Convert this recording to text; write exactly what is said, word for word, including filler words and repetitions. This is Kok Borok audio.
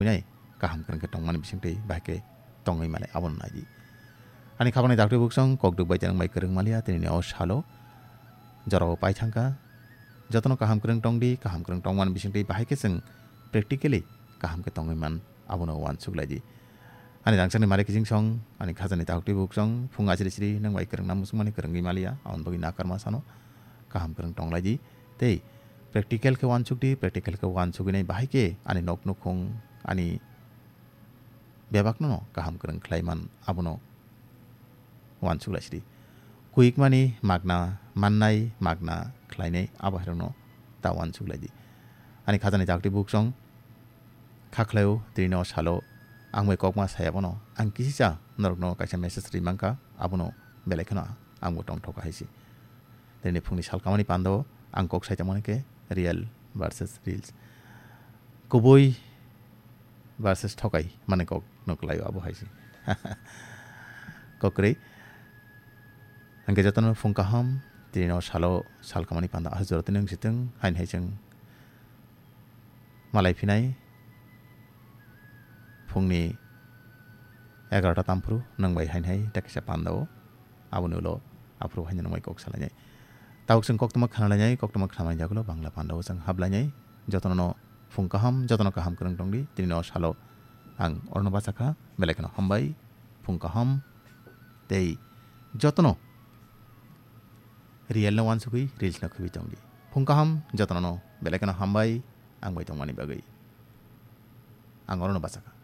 nai kaham kwrwng khe tongmani bisingtwi bahai khe tongwi male abono naidi. Ani khapangni daktwi buksong kokduk bai janang bai kwrwng maliya tini o salo jorao pai thangkha. Jotono kaham kwrwng tongdi, kaham kwrwng tongmani bisingtwi bahai khe chwng practically kaham khe tongwi man abono uansuk laidi. Ani rangchakni mare kijingsong, ani khajani daktwi buksong, phung achiri chiri nang bai kwrwngna muchungmani kwrwngwi maliya, aboni bagwi nakarma sano kaham kwrwng tonglaidi. Tei practical khe uansukdi, practical khe uansugwi nai bahai khe ani nok nukhung, ani bebakno no kaham kwrwng khlai man abono uansuk laisidi. Kuikmani magna mannai, magna khlainai abo hairokno ta uansuk laidi. Ani khajani daktwi buksong kha khlaio tini o salo ang bai kokma saya bono ang kisisa norokno kaisa message ri mankha abono belai kheno ang bo tongthok hai se. Tini phungni salkamani pando ang kok sai tongmani khe real versus reels. Kubui versus thokai mane kok no kwlaio abo hai se. Kok kwrwi. Hingke jotono phung kaham, tini no salo sal kamani panda ah jora tini wng sitwng, hain hai chwng malai phinai phungni egarota tamphuru nwng bai hain hai tekisa panda o. Aboni ulo aphuru haino nwng bai kok salainai. Tabuk chwng koktwma khnalainai, koktwma khnamani jagulo Bangla panda o chwng hablainai. Jotono no phung kaham, jotono kaham kwrwng tongdi. Tini no salo ang orno bachakha, belai kheno hambai, phung kaham, tei jotono real no uansugwi reels no khibwi tongdi. Phung kaham, jotono no belai kheno hambai, ang bai tongmani bagwi. Ang orno bachakha.